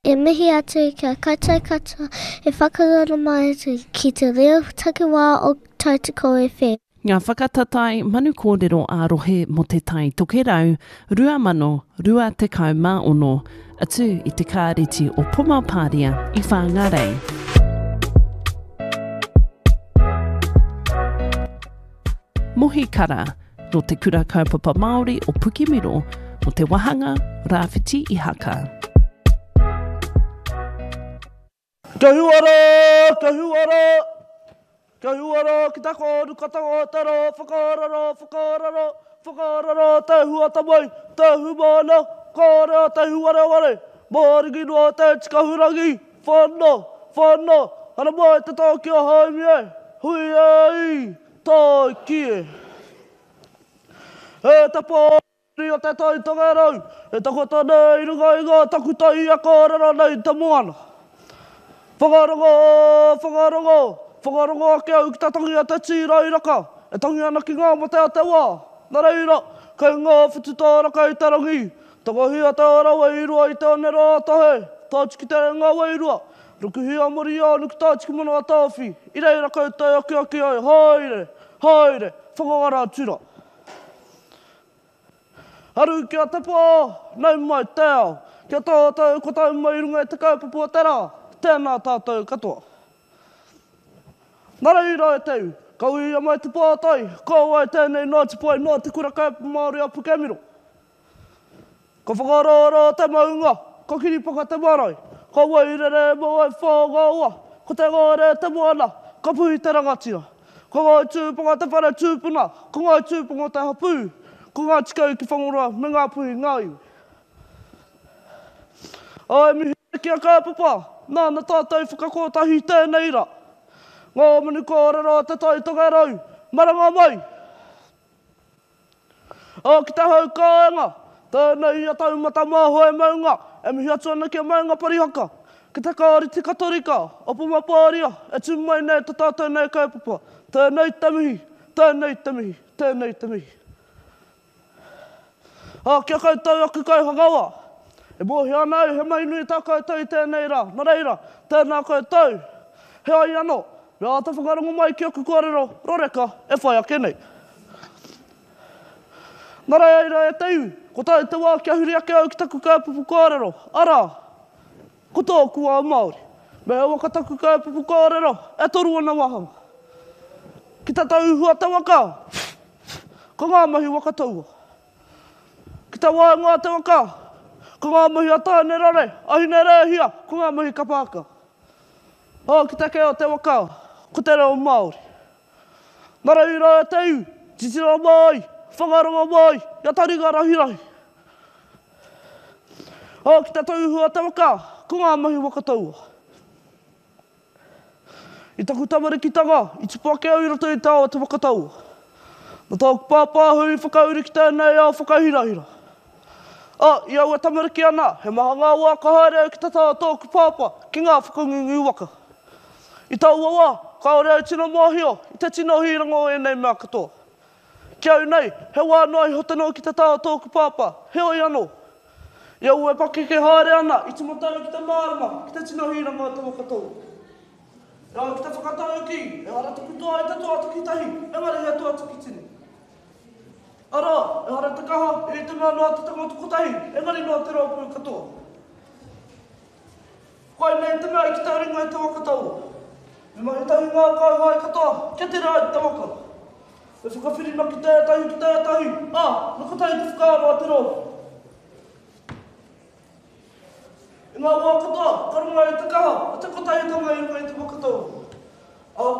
E mihi atu ki a koutou katoa e whakarongo mai ana ki te reo takiwā o Tautoko FM. Ngā whakatatae manu kōrero ā-rohe mō Te Tai Tokerau 2026, atu i te Kāreti o Pomapāria i Whāngārei. Mohi Kara, nō Te Kura Kaupapa Māori o Pukemiro, mō te wāhanga Rāwhiti Ihaka. Kia huara, kia huara, kia huara ki te kōrukatanga o te rā whakarara, whakarara, whakarara te huatamai, te humana, kāre a te huareware, māringi noa te tikahurangi, whana, whana, haramai te tau ki a Haumi e, hui e i, tāiki e. E te pō. Uri o te Tai Tokerau, e takoto nei i runga i ngā takutai e kōrero nei i te moana. Whakarongo, whakarongo, whakarongo ake au ki te tangi a te tīrairaka, e tangi ana ki ngā mate a te wā. Nā reira, kei ngā whutu tāraka i te rangi, tangohia te ora wairua i te oneroa o Tahe, tātu ki te renga wairua, rukuhia Moriānuku tātu ki Manawatāwhi, i reira koutou akiaki ai, haere, haere, whakangara atu rā. Aru ki a Te Pō, nau mai te ao, kia tātou ko tau mai i runga i te kaupapa o te rā, tēnā tātou katoa. Nā reira e Te Ū, ka uia mai te pātai, ko wai tēnei Ngāti Pae nō Te Kura Kaupapa Māori o Pukemiro? Ka whakaroaroa te maunga, ka kiripaka te marae, ka wairere mō Waiwhāngaoa, ko Te Ngāere te moana, ka puhi te rangatira. Ko Ngāi Tūpanga te whare tūpuna, ko Ngāi Tūpanga te hapū, ko Ngāti Kau ki Whangoroa me Ngāpuhi ngā iwi. Ā, e mihi ana ki a Kaupapa, nāna tātou i whakakotahi i tēnei rā. Ngā manu kōrero o Te Tai Tokerau, maranga mai! Ā, ki te hau kāinga, tēnei ia taumata māhoe maunga e mihi atu ana ki a Maunga Parihaka, ki te Kāreti Katorika o Pomapāria e tū mai nei to tātou nei kaupapa. Tēnei te mihi, tēnei te mihi, tēnei te mihi. Ā, ki a koutou aku kaihakawa, e mōhio ana au he mahi nui tā koutou i tēnei rā, nā reira, tēnā koutou. Heoi anō, me āta whakarongo mai ki aku kōrero roreka e whai ake nei. Nā reira e te iwi, ko tae te wā kia huri ake au ki taku kaupapa kōrero, arā, ko tōku ao Māori. Me he waka taku kaupapa kōrero, e toru ana wāhanga. Ki te tauhua te waka, ko ngā mahi waka taua. Ki te waenga o te waka, ko ngā mahi a Tāne Rore, a Hine Rēhia, ko ngā mahi kapa haka. Ā, ki te kē o te waka, ko te reo Māori. Nā reira e te iwi, titiro mai, whakarongo mai, ia taringa rahirahi. Ā, ki te tauihu a te waka, ko ngā mahi waka taua. I taku tamarikitanga, i tupu ake au i roto i te ao o te waka taua. Nā tōku pāpā ahau i whakauru ki tēnei ao whakahirahira. Ā, i au e tamariki ana, he maha ngā wā ka haere au ki te taha o tōku pāpā ki ngā whakangungu waka. I taua wā, kāore au tino mōhio i te tino hīranga o ēnei mea katoa. Ki au nei, he wā noa iho te noho ki te taha o tōku pāpā, heoi anō. I au e pakeke haere ana, i tīmata au ki te mārama, ki te tino hīranga o te waka taua. E ai ki te whakataukī, ehara taku toa i te toa takitahi, engari he toa takitini. Arā, ehara te kaha i te mea noa te tangata kotahi, engari noa te rōpū katoa. Koinei te mea i kite ringa i te waka taua. Me mahi tahi ngā kauhae katoa kia tere ai te waka. Me whakawhirinaki tētahi ki tētahi, ā, me kotahi te whakaaro a te rōpū. I ngā wā katoa, ka rongo ai te kaha o te kotahitanga i runga i te waka taua. Ahakoa.